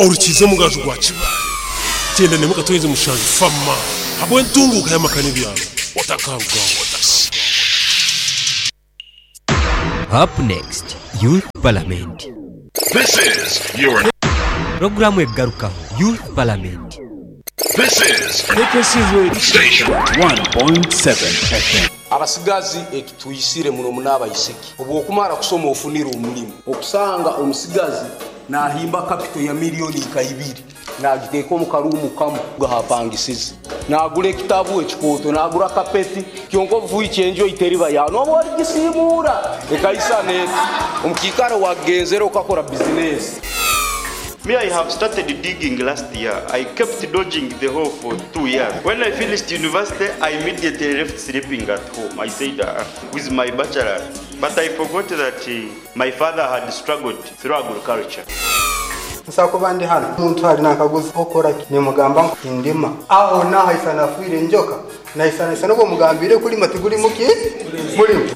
Orukiize omugaju gwa Kibaale, 97 Fama habw'entunguuka y'amaka n'ebyaro. Otakarugaho. Up next, Youth Parliament. This is your. Pulogulaamu egarukaho, Youth Parliament. This is KKC Radio. Station. 1.7 FM. Abasigazi ekitwisire muno muno abaisiki, obwokumara kusoma ofunire omulimu, okusanga omusigazi nahimba kapito ya milioni nka ibiri nagiteeka omu karuumu kamu ahapangisize, nagura ekitabu ekikooto, nagura kapeti, kyonka obufuhikya enju ei teriba yaawe nobu origisiimuura ekaisana eti omu kiikaro wagenzere okakora bizinesi. Me I have started digging last year, I kept dodging the hole for 2 years, when I finished university I immediately left sleeping at home, I said ah with my bachelor but I forgot that my father had struggled through agriculture. Nsobola kuba ndi hanu omuntu ari nankaguza okora ki nimugamba ngu nindima aho nahaisana afiire enjoka naisanaisana obu omugambiire kulima tiguri muki murimo.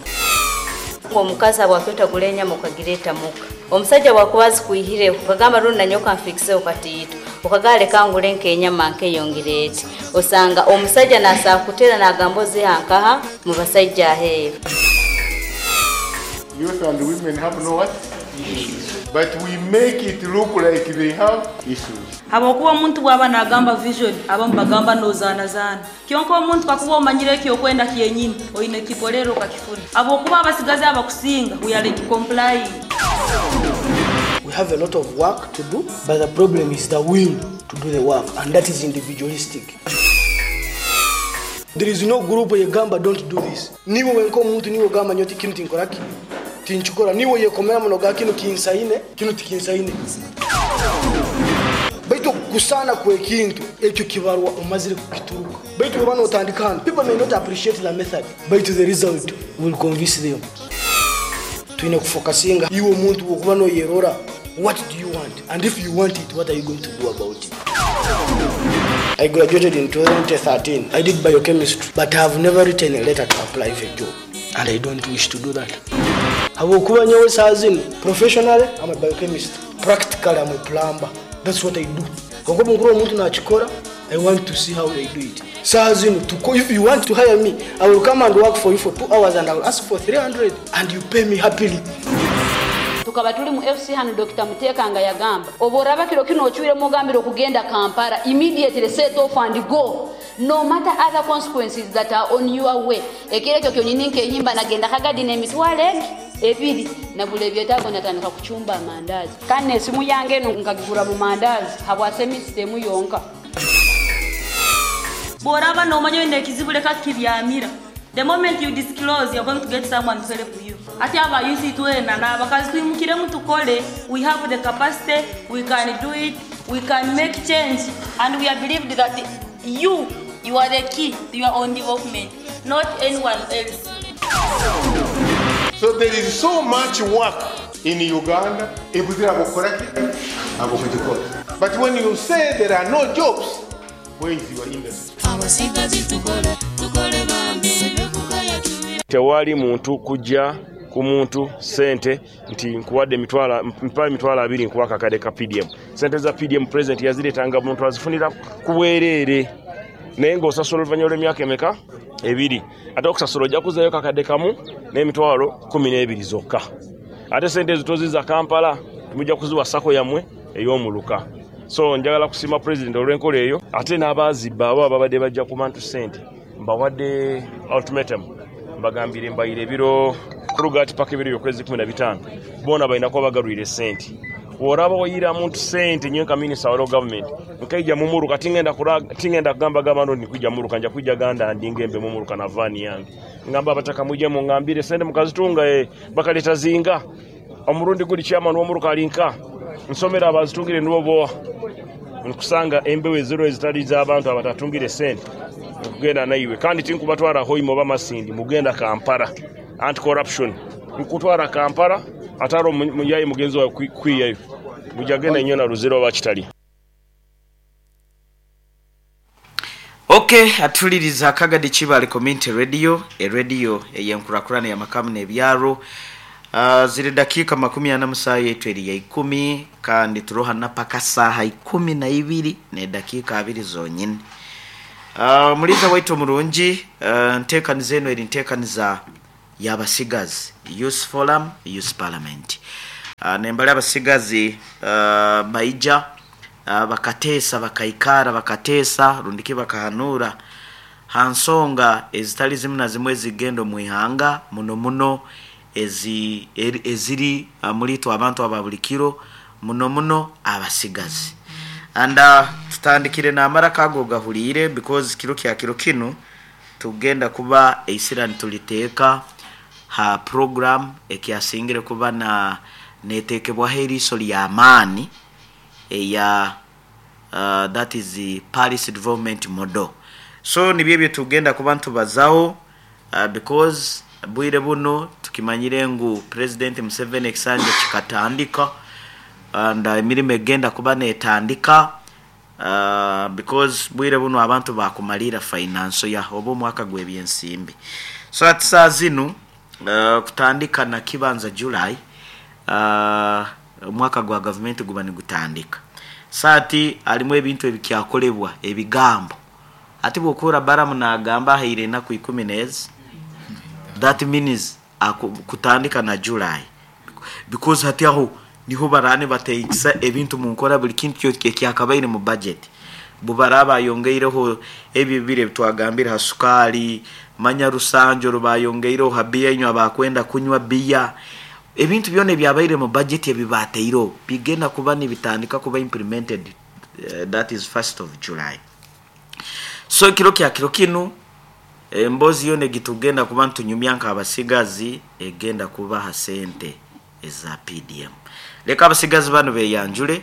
Omukazi habwaki otagura enyama okagireeta muka? Omusaija bwakuba azikwihireho okagamba rundi nanyowe kanfikiseho katiito, okagamba leka ngure nk'enyama nkeyo ngireete. Osanga omusaija nasobola kukuteera nagamba oziha nkaha? Mu basaija aheeru. Youth and women have no what? But we make it look like they have issues. Habwokuba omuntu bwaba nagamba vision, abamu bagamba nozanazaana. Kyonka omuntu kakuba omanyire ekyokwenda kyenyini, oine kukikorera okakifuna. Habwokuba abasigazi abakusinga we are like complying. We have a lot of work to do but the problem is the will to do the work and that is individualistic. There is no group eyegamba don't do this. Niiwe wenka omuntu niiwe ogamba nyowe kinu tinkoraki, tinkikora. Niiwe oyekomeramu nogamba kinu kinsaine, kinu tikinsaine. Baitu okusaana kw'ekintu ekyo kibarwa omazire kukituruka. Baitu bwoba notandika hanu, people may not appreciate the method, baitu the result will convince them. Twine kufokasinga iwe omuntu bwokuba noyerora, what do you want and if you want it, what are you going to do about it? I graduated in 2013. I did biochemistry, but I have never written a letter to apply for a job, and I don't wish to do that. Habwokuba nyowe saaha zinu, professionally, I'm a biochemist. Practically, I'm a plumber. That's what I do. Kwonka obu nkurora omuntu nakikora, I want to see how they do it. Saaha zinu, to, if you want to hire me, I will come and work for you for 2 hours and I will ask for 300 and you pay me happily. Tukaba tuli mu FC hanu Dokita Muteekanga yagamba, Obworaba kiro kinu ocwiremu ogambire okugenda Kampala, immediately set off and go no matter other consequences that are on your way. Ekiro ekyo kyonyini nkehimba nagenda Kagadi n'emitwaro egi ebiri nagura ebyetaago natandika kucumba amandaazi kandi n'esimu yange enu nkagigura mu mandaazi habwa semista emu yonka. Bworaba nomanya oine ekizibu leka kukibyamira. The moment you disclose you're going to get someone to help you. Hati aba youth itwena nabakazi twimukiremu tukole, we have the capacity, we can do it, we can make change and we are believed that you, you are the key to your own development, not anyone else. So there is so much work in Uganda, ebuzire ab'okukora ki? Ab'okugikora. But when you say there are no jobs, where is your industry? Tewali muntu kujja ku muntu ssente nti nkuwadde emitwalo, mpa emitwalo abiri nkuwe akakadde ka PDM. Ssente za PDM Pulezidenti yazireeta nga muntu azifunira ku bwereere naye ng'osasula oluvannyuma lw'emyaka emeka? Ebiri. Ate okusasula ojja kuzzaayo kakadde kamu n'emitwalo 12 zokka. Ate ssente ezo tozizza Kampala, mujja kuziwa sacco yammwe ey'omuluka. So njagala kusiima Pulezidenti olw'enkola eyo ate n'abaazibba abo ababadde bajja ku bantu ssente mbawadde ultimatum mbagambire mbayire ebiro kuruga hati paka ebiro by'okwezi 15 boona balina kuba bagarwire sente. Bw'oraba oyira muntu sente nyowe nka minisita wa local government nkaija mumuruka tingenda tingenda kugamba gamba nti ndikwija mumuruka nja kwija ganda ndinge mbe mumuruka na vaani yange ngamba abataka mwije mungambire sente mukazitunga bakaleta zinga omurundi guri chairman w'omuruka ali nka nsomera abazitungire nibo boa nkusanga embeho eziro ezitari z'abantu abatatungire sente nkugenda naiwe kandi tinkubatwara Hoima oba Masindi mugenda Kampala anti corruption nkutwara Kampala atari omuyayi mugenzi wawe kwiyayo mujja genda nyo na Ruzira oba Kitali. Ok atuliriza Kagadi Kibaale Community Radio, e radio eyenkurakurana ya makamu n'ebyaro. Ziri dakiika 40 musaaha yaitu eri ya ikumi kandi turoha na paka saaha 12 n'edakiika abiri zonyine. Omuliiza waitu omurungi, enteekaniza enu eri nteekaniza y'abasigazi, Youth Forum, Youth Parliament. Nembali abasigazi baija bakateesa, bakaikaara bakateesa rundiki bakahanuura ha nsonga ezitali zimu na zimu ezigenda omu ihanga muno muno ezi eziri omuri itwe abantu aba buri kiro muno muno abasigazi. And tutandikire n'amaraka ago ogahuriire because kiro kya kiro kinu tugenda kuba eisira nituliteeka ha program ekyasingire kuba na netekebwaho eriiso ly'amaani eya that is Paris Development Model. So nibyo ebyo tugenda kuba nitubazaho because bwire bunu tukimanyire ngu President Museveni ekisanja kikatandika and emirimo egenda kuba netandika because bwire bunu abantu bakumaliira financial year oba omwaka gw'ebyensimbi. So hati saaha zinu kutandika na kibanza July omwaka gwa gavumenti guba nigutandika. So hati harimu ebintu ebikyakolebwa ebigambo. Hati bwokuhurra Balaam nagamba ahaire enaku ikumi n'ezi, that means kutandika na July because hati aho niho baraaba nibateekisa ebintu munkora buri kintu kyona ekyakabaire mu budget. Bubaraba bayongeireho ebyo ebibiri ebitwagambire ha sukaali, manya rusanju oru bayongeireho ha biya inywe abakwenda kunywa biya, ebintu byona ebyabaire mu budget ebibateireho bigenda kuba nibitandika kuba implemented that is first of July. So ekiro kya kiro kinu emboozi yoona egi tugenda kuba nitunyumya nk'abasigazi egenda kuba ha sente eza PDM. Leka abasigazi banu beyanjule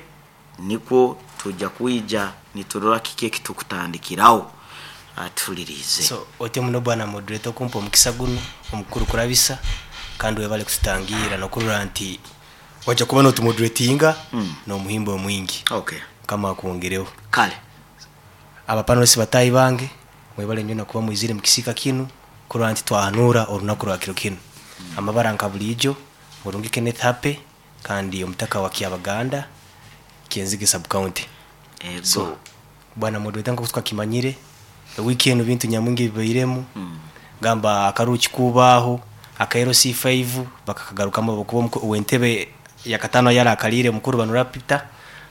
nikwo twija kwija niturora kiki ekitukutandikiraho. Tuhuliriize. So otyo muno bwana moderator okumpa omukisa gunu omukuru kurabisa kandi webale kututangiira nokurora nti waija kuba notumoderatinga nomuhimbo omwingi. Okay. Mukama akwongereho. Kale. Aba panelists bataahi bange mwebale nyo nakuba mwizire mukisiika kinu kurora nti twahanuura orunaku rwa kiro kinu. Amabara nka buriijo, Murungi Kenneth Happy kandi omutaka wa Kyabaganda, Kyenzige sub county. So bwana moderator nkoku twakimanyire, ewiiki enu bintu nyamwingi ebibairemu, gamba akaruru kikubaho, aka LC5 bakakagarukamu ahabwokuba owentebe yakataano ayarakaliire mukuru Banura Peter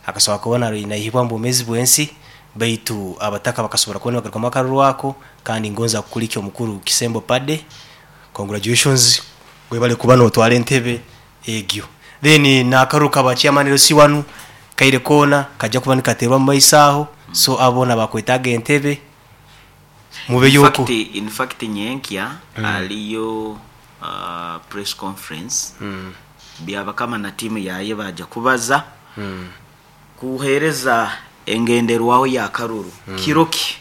akasobora kuba naihibwa omu bwomeezi bwensi baitu abataka bakasobora kuba nibagarukamu akaruru ako kandi ngonza kukulikya omukuru Kisembo Paddy congratulations webale kuba notwara entebe egyo. Then nakaruru ka ba chairman LC1 kaire koona kaija kuba nikateerwa omu maiso aho so abo boona abakwetaaga entebe mubeyo okwo. In fact nyenkya hariyo press conference Byabakama na tiimu yaye baija kubaza kuhereza engenderwaho ya karuru kiro ki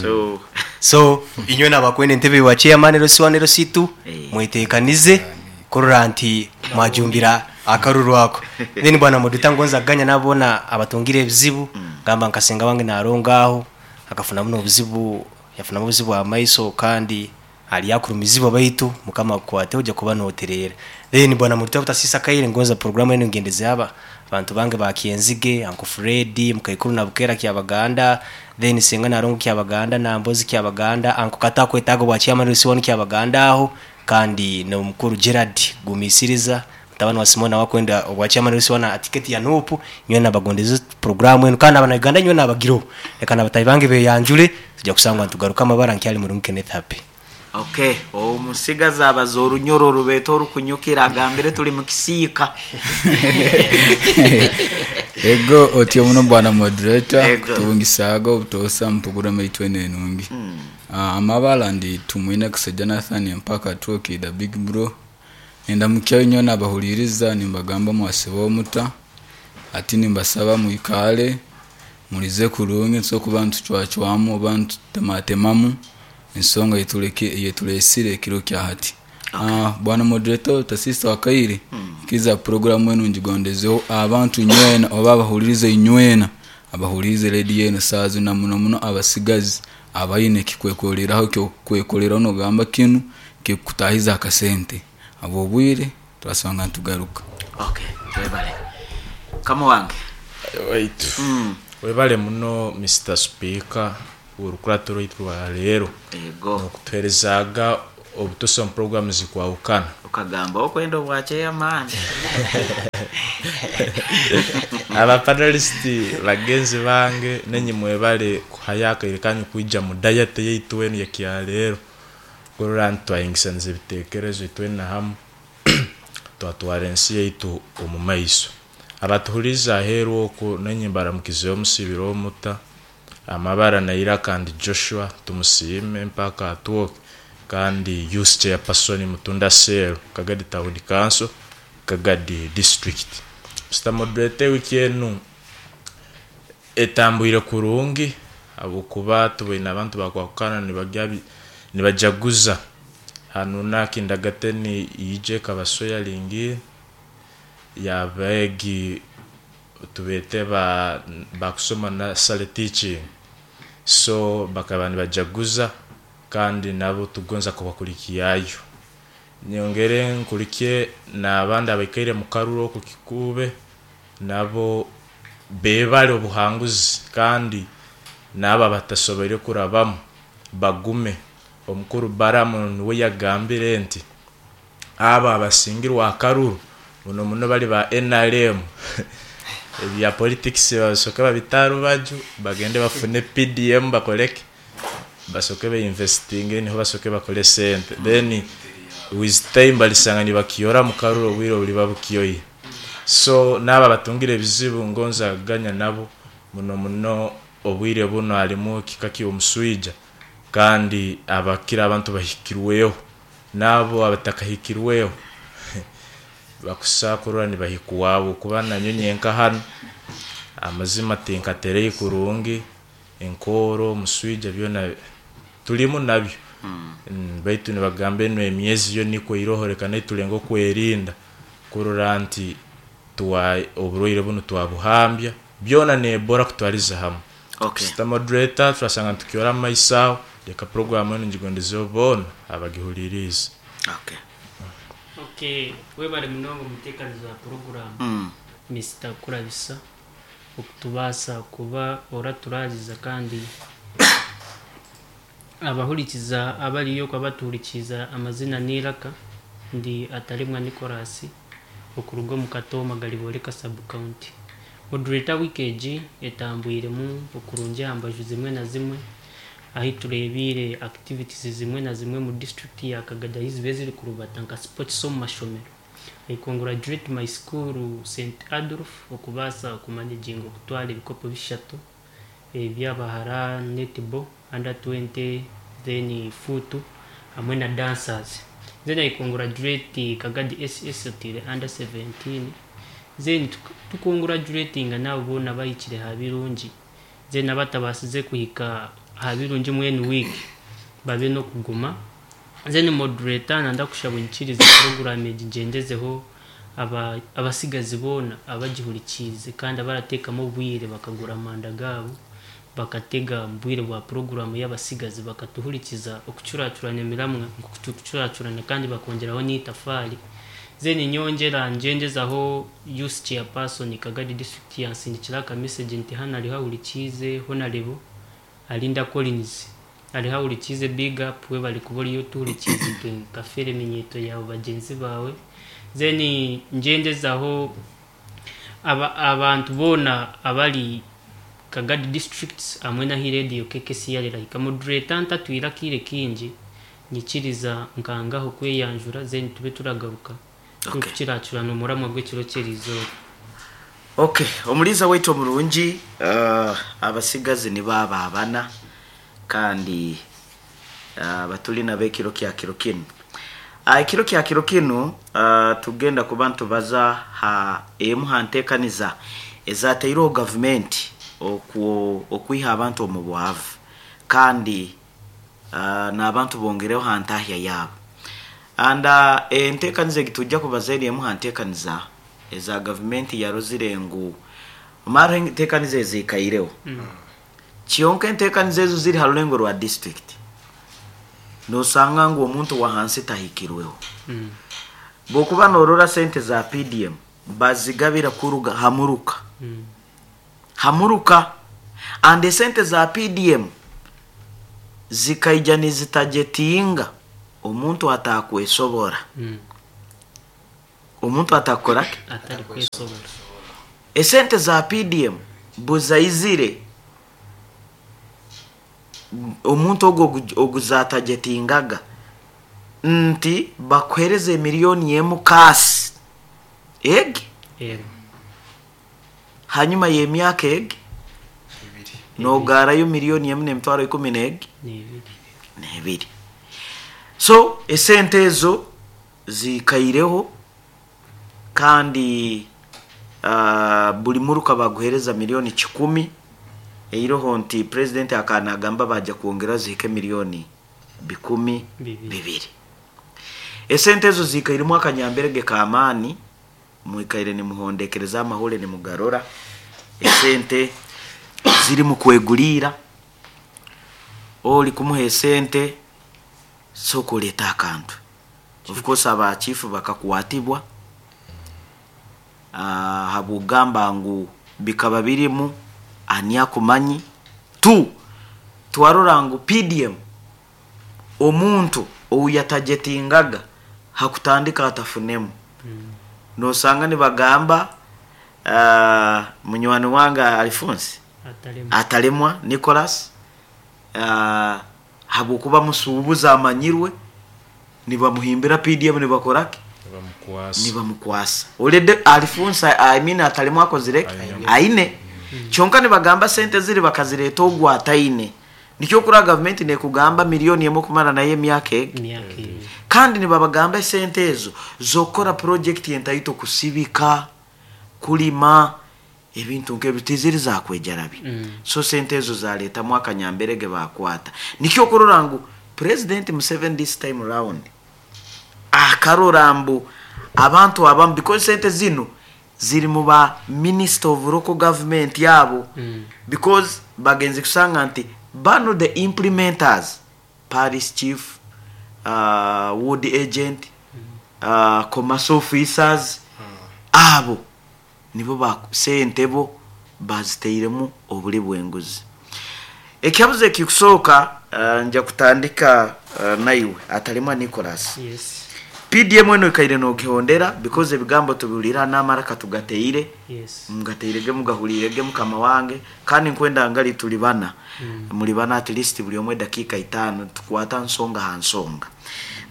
so. So inywena abakwenda entebe yowa chairman LC1 LC2 mwetekanize kurora nti mwajumbira akaruru ako. Then bwana Muduta ngonza kuganya nabo bona abatungire ebizibu gamba nka senga wange narongo aho akafuna muno obuzibu yafunamu obuzibu bwa maiso kandi ari akurumizibwa baitu mukama akukwate oja kuba notereera. Then bwana Muduta butasisa akaire ngonza program enu ngendeze aba abantu bange ba Kyenzige, Uncle Fred, Mukaikuru na Bukeera Kyabaganda, then Senga Narongo Kyabaganda, Nambozi Kyabaganda, Uncle Kato akwetaaga obwa chairman LC1 Kyabaganda aho kandi n'omukuru Gerald Gumisiriza mutabani wa Simon nawe akwenda obwa chairman LC1 aha ticket ya Nup. Nyowe nabagondeze program enu kandi abana Uganda nyowe nabagireho. Leka na bataahi bange beyanjure tuja kusangwa nitugaruka amabara nkyali murungi Kenneth Happy. Ok, omusigazi abaza orunyoro orubeeta orukunyukira agambire turi mukisiika. Ego otyo muno bwana moderator Ego. kutubungisaaga obutoosa mu puroguramu yaitu enu enungi. Amabara ndi Tumwine Kisa Jonathan Empaka Twoki the big bro. Nindamukya inywena abahuriiriza nimbagamba mwasiba omuta hati nimbasaba mwikaare murize kurungi nitusobora kuba nitucwacwamu oba nitutematemamu ensonga eyeturesire ekiro kya hati. Bwana moderator Tasisa Wakaire ikiriza puroguramu enu ngigondezeho abantu inywena oba abahuririza inywena abahuriize rediyo enu saaha zinu na muno muno abasigazi abaine ekikwekoreraho ekyokwekoreraho nogamba kinu kikukutahiza akasente. Habw'obwire Twasanga nitugaruka. Okay, webale. Mukama wange. Waitu. Webale muno Mister Speaker orukurato rwaitu rwa leero. Yego. Nokutuherezaga obutosa omu program zikwahukana. Okagamba okwenda obwa chairman. Aba panelist bagenzi bange nenye mwebale kuhayo akaire kanyu kwija mu diet yaitu enu yakyaleero. Kurora nti twahingisaniza ebitekerezo itwena hamu twatwara ensi yaitu omu maiso. Abatuhuriize aheeru okwo nainye mbaramukizeho Musibire Omuta, Amabara na Iraka ndi Joshua Tumusiime mpaka Atwoki kandi Youth Chairperson Mutunda Cell, Kagadi Town Council, Kagadi District. Mister Moderator ewiki enu etambwire kurungi habwokuba tuboine abantu bakwahukana nibajaguza hanu nakindagateni ija ekaba swearing in yabeegi tubeete ba bakusoma nursery teaching so bakaba nibajaguza kandi nabo tugonza kubakulikiayo. Nyongere nkulikye nabandi abaikaire mukaruru oku Kikuube nabo bebale obuhanguzi kandi naabo abatasoboire kurabamu bagume. Omukuru Balamu nuwe yagambire nti abo abasingirwe akaruru muno muno bali ba nrm ebya politics basoke babite aharubaju bagende bafune PDM bakoreki basoke be investinge niho basoke bakore sente then with time balisanga nibakiyora mukaruru obwire obuliba bukiyoire. So naabo abatungire ebizibu ngonza kuganya nabo muno muno obwire bunu harimu ekika ky'omuswija kandi abakira abantu bahikirweho naabo abatakahikirweho bakusa kurora nibahikwaho kuba nanyowe nyenka hanu amazima tinkaterei kurungi enkooro omuswija byona turimu nabyo baitu nibagamba enu emyezi yo nikwo iroho reka naitwe tulenge okwerinda kurora nti oburwaire bunu twabuhambya byona n'Ebola kutwariza hamwe. Okay. Mister Moderator turasanga nitukyora omu maiso aho reka puroguramu enu ngigondezeho boona abagihuririize. Okay. Okay, webare munonga omuteekanizi wa puroguramu Mister Kurabisa okutubaasa kuba oraturaariza kandi abahurikiza abariyo okuba batuhurikiize amazina n'eiraka ndi Ataremwa Nicholas okuruga omu Katooma Garibooreka Sub County. Moderator wiiki egi etambwiremu okurungi aha mbaju zimwe na zimwe ahi tureebiire activities zimwe na zimwe omu district ya Kagadi ahi zibaire ziri kurubata nka sports omu mashomero. I congratulate my school Saint Adolf okubaasa kumanaginga okutwara ebikopo bishatu eby'abahara netball, under 20 then foot hamwe na dancers. Then I congratulate Kagadi SS oteire under 17 then tukongurajuratinga n'abo boona abahikire aha birungi then abatabaasize kuhika aha birungi mbwenu wiiki babe n'okuguma. Then moderator nanda kushaba onyikirize puroguraamu egi ngyendezeho abatsigazi boona abagihurikiize kandi abarateekamu obwire bakagura amanda gaabo bakatega omu bwire bwa puroguraamu y'abatsigazi bakatuhurikiza okucuracurana emiramwa nk'oku turikucuracurana kandi bakongyeraho n'eitafaari. Then nyongyera ngyendezaho Youth Chairperson Kagadi District yansindikira aka message nti hanu ariho ahurikiize Honarebo Alinda Collins ariho ahurikiize big up webare kuba oriyo otuhurikiize itwe nka Fere Minyeeto yaawe bagyenzi baawe. Then ngyendezaho aba abantu boona abari Kagadi Districts hamwe n'ahi Radio KKCR erahika. Moderator ntatwire akaire kaingi Nyikiriza nkangaho kweyanjura then tube turagaruka turikukiracurana omuramwa gw'ekiro ky'erizooba. Ok, omuriisa waitu omurungi, abatsigazi nibo abo abana kandi abaturi nabo ekiro kya kiro kinu. Ekiro kya kiro kinu tugenda kuba nitubaza ha emu ha ntekaniza ezatairweho gavumenti okwiha abantu omu bwavu kandi n'abantu bongereho ha ntahya yaabo. And entekaniza egi twija kubaza eri emu ha ntekaniza eza gavumenti yarozire ngu mara entekaniza eziikaireho. Kyonka entekaniza ezo ziri ha rulengo rwa district, nosanga ngu omuntu wa hansi tahikirweho. Bwokuba norora sente za PDM bazigabira kuruga hamuruka. Hamuruka and esente za PDM zikaija nizitagetinga omuntu atakwesobora. Omuntu atakora ki? Atari kwesobora. Esente za PDM buzaizire omuntu ogwo oguzatagetingaga nti bakuhereza emiliyoni emu kasi egi Ego. Hanyuma y'emyaka egi nogarayo miliyoni emu n'emitwaro ikumi n'egi n'ebiri. So esente ezo zikaireho kandi buli muruka baguhereza miliyoni 100 eiroho nti president akanagamba baja kwongera zihike miliyoni 200. Esente ezo zikairemu akanyamberege k'amaani, mwikaire nimuhondekereza amahule nimugarora esente ziri mu kwegulira, oli kumuha esente sooka oleete akantu. Of course abachifu bakakwatibwa habw'okugamba ngu bikaba birimu ani akumanyi. Tu twarora ngu PDM omuntu ou yatagetingaga hakutandika atafunemu. Nosanga nibagamba munywani wange Alphonse Atalemwa. Atalemwa Nicholas habwokuba musuubuzi amanyirwe nibamuhimbira PDM nibakoraki nibamukwasa already Alphonse, I mean Atalemwa akozire aine kyonka nibagamba sente ziri bakazireta ogwo ataine. Nikyo kura gavumenti nekugamba miliyoni emu kumara naye emyaka egi, kandi nibabagamba esente ezo zokora project entaito kusibika kulima ebintu nk'ebyo tiziri zakwejarabi. So sente ezo zaletamu akanyamberege bakwata. Nikyo kurora ngu President Museveni this time round akarora mbu abantu abamu, because sente zino ziri mu ba minister of local government yabo, because bagenzi kusanga nti bano the implementers, parish chief, ward agent, commerce officers, abo nibo ba sente bo baziteiremu obuli bwenguzi. Ekyabuze ekikusooka, nja kutandika naiwe Atalemwa Nicholas. Yes. PDM eno ekaire nogihondera because ebigambo tubiwulira n'amaraka tugateire. Yes. Mugateirege mugahulirege mukama wange, kandi nkwenda ngali tuli bana. Muli bana at least buli omwe dakiika 5 tukwata nsonga ha nsonga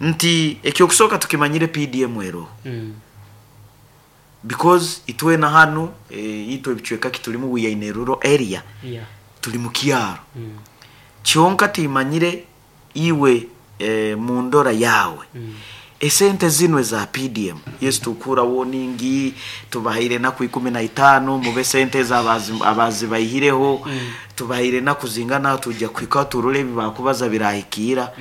nti ekyokusooka tukimanyire PDM ero. Because itwena hanu itwe ebicweka kitulimu, we are in a rural area. Tuli mu kyaro. Kyonka timanyire iwe mundora yawe. Esente zino za PDM, yes, tukura warning tubahaire naku 15 mube sente z'abazi abazi bayihireho. Tubahaire naku zingana tujya kwika turule bibakubaza birahikira.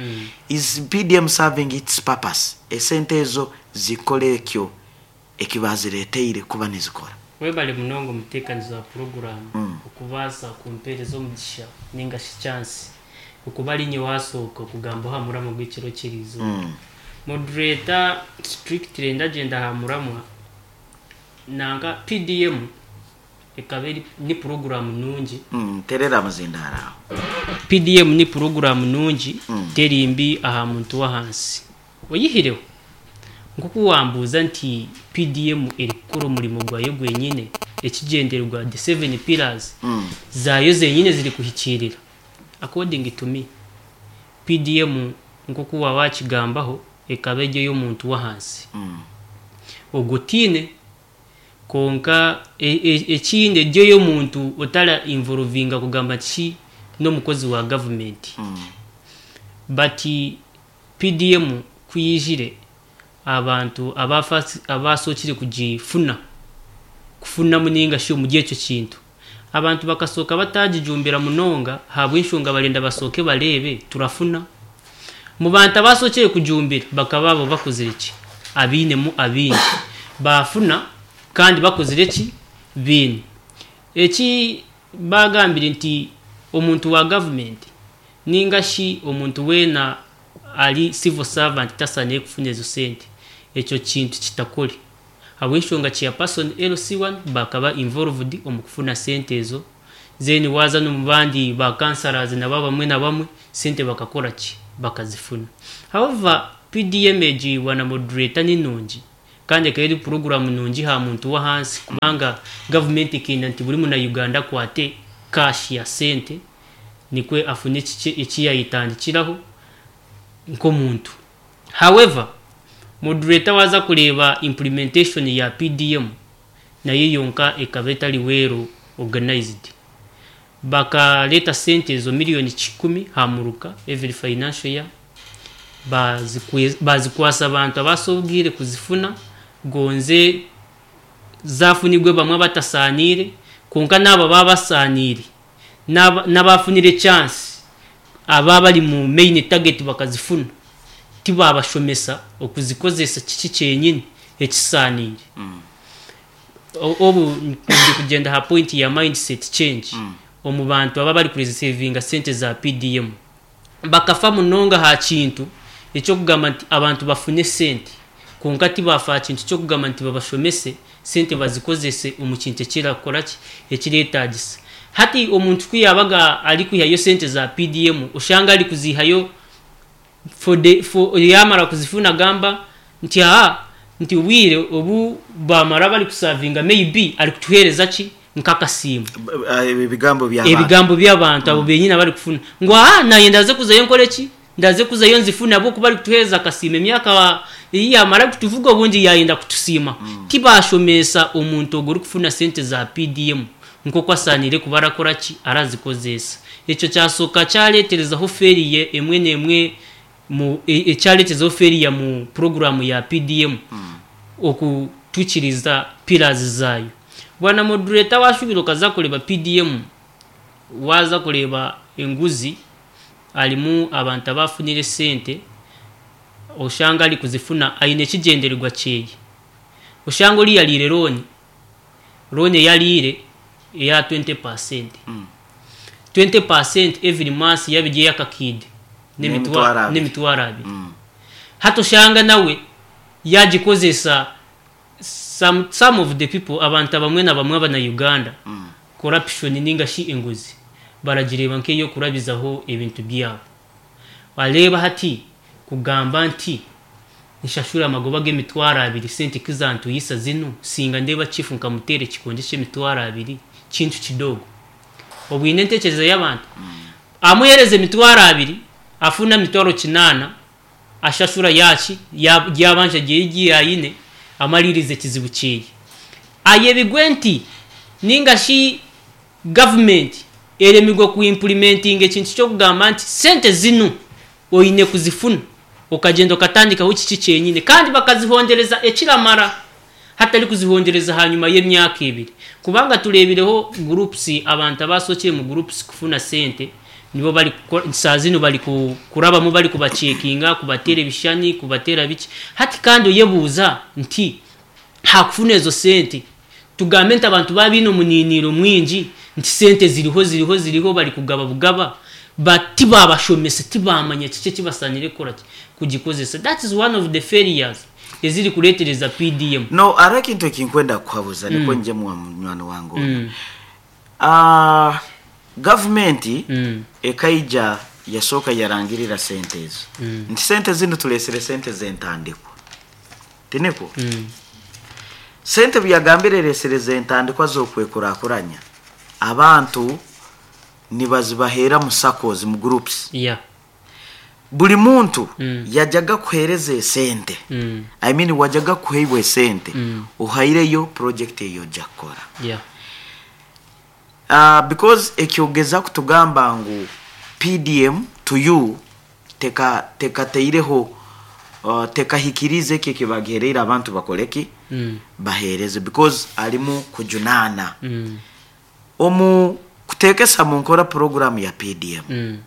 Is PDM serving its purpose? Esente ezo zikole ekyo ekibazireteire kuba nizikora. Webale munonga omuteekanizi wa puroguramu okubaasa kumpeereza omugisha ninga shi chance okuba ari nyowe wasooka okugamba aha muramwa gw'ekiro ky'eriizooba. Moderator, strictly ndagyenda aha muramwa nanka PDM ekaba eri ni puroguramu nungi. Terera amazindaro aho. PDM ni puroguramu nungi, teri mbi aha muntu w'ahansi. Oyihireho nkoku wambuuza nti PDM erikukora omurimo gwayo gwenyine, ekigyendererwa the seven pillars zaayo zenyine ziri kuhikiirira. According to me, PDM nkoku waba wakigambaho ekaba eri ey'omuntu w'ahansi. Ogwo tiine konka ekindi eri ey'omuntu otara involvinga kugamba nti shi n'omukozi wa gavumenti. But PDM kuyijire abantu abasookire kugifuna kufunamu ninga shi omuri ekyo kintu, abantu bakasooka batagijumbira munonga ahabw'enshonga barenda basooke bareebe turafuna. Mu bantu abasookire kujumbira bakaba abo bakozire ki abiinemu abingi bafuna kandi bakozire ki biine eki bagambire nti omuntu wa gavumenti ninga shi omuntu weena ari civil servant tasaaniire kufuna ezo sente. Ekyo kintu kitakore habw'enshonga chairperson LC1 bakaba involved omu kufuna sente ezo then waaza n'omu bandi ba councillors nabo abamwe na bamwe sente bakakora ki bakazifuna. However PDM egi bwana moderator ni nungi kandi ekaba eri puroguramu nungi aha muntu w'ahansi kubanga gavumenti ekenda nti buri muna Uganda akwate cash ya sente nikwe afune kikye eki yayetandikiraho nk'omuntu. However, moderator waaza kureeba implementation ya PDM nayo yonka ekaba etari well organized. Bakareeta sente ezo miriyoni kikumi aha muruka every financial year bazikwasa abantu abasobwire kuzifuna gonze zafunigwe bamwe abatasaaniire kwonka n'abo ababa basaaniire n'abafunire chance aba bari mu main target bakazifuna tibabashomesa okuzikozesa kiki kyenyini ekisaaniire. Obu ndi kugyenda aha point ya mindset change omu bantu aba bari kuresevinga sente za PDM bakafa munonga aha kintu eky'okugamba nti abantu bafune sente kwonka tibafa aha kintu ky'okugamba nti babashomese sente bazikozese omu kintu ekirakora ki ekireetagisa. Hati omuntu ku yaabaga arikwihayo sente za PDM oshanga arikuzihayo for the for yamara kuzifuna agamba nti aha nti obwire obu bamara bari kusavinga maybe arikutuheereza ki nk'akasiimo. Ebigambo by'abantu. Ebigambo by'abantu abo benyini abari kufuna ngu aha naanye ndaze kuzayo nkore ki ndaze kuzayo nzifune ahabw'okuba arikutuheereza akasiimo emyaka ei yamara kutuvuga obundi yayenda kutusiima. Tibashomesa omuntu ogwo orikufuna sente za PDM nk'oku asaaniire kuba arakora ki arazikozesa. Ekyo kyasooka kyareeterezaho failure emwe n'emwe mu ekyareeterezaho failure mu puroguraamu ya PDM okutuhikiriza pillars zaayo. Bwana moderator waashubire okaza kureeba PDM waaza kureeba enguzi harimu abantu abaafunire esente oshanga arikuzifuna aine ekigyendererwa kyeye. Oshanga oriya ariire looni, looni ei ariire eya 20%. 20% every month yaaba eri ey'akakiide N'emitwaro abiri. n'emitwaro abiri. Hati oshanga nawe yaagikozesa some, some of the people abantu abamwe na bamwe abana Uganda corruption ninga shi enguzi baragireeba nk'ey'okurabizaho ebintu byabo. Wareeba hati kugamba nti nshashure amagoba g'emitwaro abiri sente kizantuyisa zinu singa ndeeba chief nkamuteera ekikonde ky'emitwaro abiri kintu kidogo. Obwine entekyereza y'abantu amuheereza emitwaro abiri afuna mitwaro kinaana ashashura yaki yabanja ryeye yayine amaliriza ekizibu kyeye. Ayebigwe nti ninga shi gavumenti eremigwe ku implementing ekintu ky'okugamba nti sente zinu oine kuzifuna okagyenda okatandikaho kiki kyenyine kandi bakazihondereza ekiramara hatari kuzihondereza hanyuma y'emyaka ebiri kubanga tureebireho groups abantu abasookire mu groups kufuna sente nibo bari saa zinu bari kurabamu bari kubacekinga kubateera ebishushani kubateera biki hati kandi oyebuuza nti hakufuna ezo sente tugambe nti abantu baba baine omuniiniro mwingi nti sente ziriho ziriho ziriho bari kugaba bugaba tibabashomesa tibamanya kiki ekibasaanire kukora ki kugikozesa. That is one of the failures eziri kureetereza PDM. No, hariho ekintu ekinkwenda kukuhabuza nikwo ngye munywani wange onu. Gavumenti ekaija yasooka yarangirira sente ezo nti sente zinu tureesire sente z'entandikwa tinikwo? Sente buyagambire ereesire z'entandikwa z'okwekurakuranya abantu nibazibaheera mu SACCOs mu groups. Buri muntu yajaga kuheereza esente. I mean wajaga kuheibwa esente ohaireyo project eyo ojja kukora. Because ekyogeza kutugamba ngu PDM to you teka tekateireho tekahikirize ekyo ekibagihereire abantu bakoreki baheereze because arimu kujunaana omu kuteekesa mu nkora program ya PDM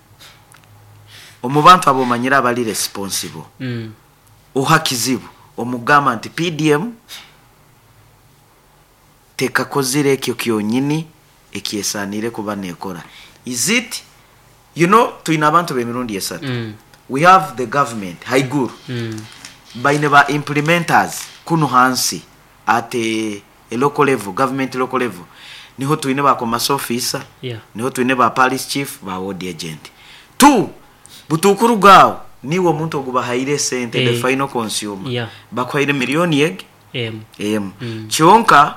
omu bantu abomanyire abari responsible oha kizibu omugamba nti PDM tekakozire ekyo kyonyini ekyesaanire kuba neekora. Is it you know twine abantu b'emirundi esatu. We have the government haiguru. Baine ba implementers kunu hansi at a local level, government local level. Niho twine ba commerce officer, niho twine ba parish chief, ba ward agent. Tu, butukuruga aho, niiwe omuntu ogu bahaire esente, the final consumer. Bakuhaire million egi? Emu. Emu. Kyonka oka.